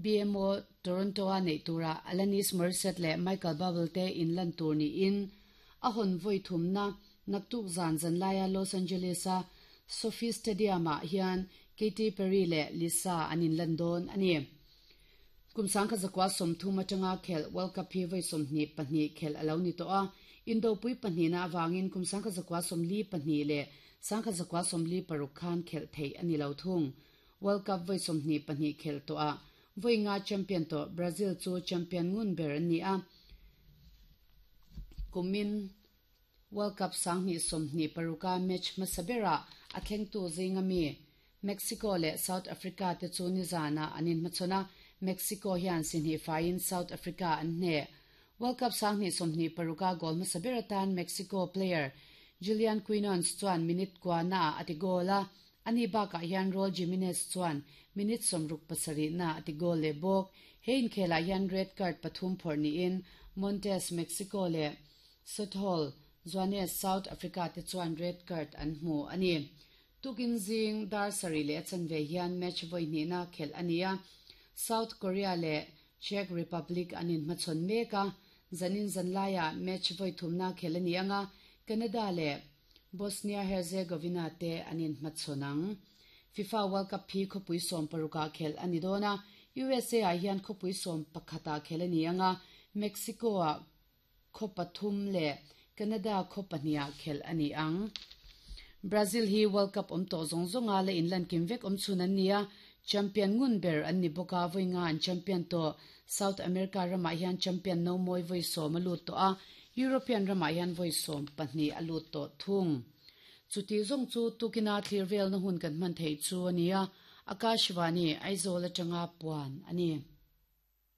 BMO Toronto-a neih turah Alanis Morissette leh Michael Buble te inlan tur niin a hawn vawi thumna naktuk zan zanlaia Los Angeles-a SoFi Stadium-ah hian Katy Perry leh Lisa an inlan dawn a ni. Kum 1930 atanga khelh World Cup hi vawi 22 khelh a lo ni tawh a, indopui pahnihna avangin kum 1942 leh 1946 khan khelh theih a ni lo thung. World Cup vawi 22 khelh tawhah vawi nga champion tawh Brazil chu champion ngun ber an ni a, kumin World Cup 2026-a match hmasa berah a thlengtu zinga mi Mexico leh South Africa te chu nizanah an inhmachhawn a, Mexico hian si hnih faiin South Africa an hneh. World Cup 2026-a goal hmasa ber atan Mexico player Julian Quinones chuan minute kuanaah a ti goal a, Ani bakah hian Raul Jimenez chuan minute 67 na a ti goal leh bawk. He inkhelah hian red card pathum phawrh niin Montes, Mexico, leh Sothol, Joanes, South Africa, te chuan red card an hmu a ni. Tukin zing dar sarih leh a chanve hian match vawi hnihna khelh a ni a, South Korea leh Czech Republic an inhmachhawn mek a, zanin zanlaiah match vawi thumna khelh a ni ang a, Canada leh Bosnia-Herzegovina te an inhmachhawn ang. FIFA World Cup hi khawpui 16 ah khelh a ni dawn a, USA ah hian khawpui 11 ah khelh a ni ang a, Mexico ah khaw pathum leh Canada khaw pahnih ah khelh a ni ang. Brazil hi World Cup awm tawh zawng zawnga la inlan kim vek awm chhun an ni a, champion ngun ber an ni bawk a, vawi nga an champion tawh. South America ramah hian champion no mawi vawi sawm a lut tawh a, European ramah hian vawi 12 a lut tawh thung. Chuti zawng chu tukina thlir velna hun kan hman theih chu a ni a, Akashvani, Aizawl atanga puan a ni.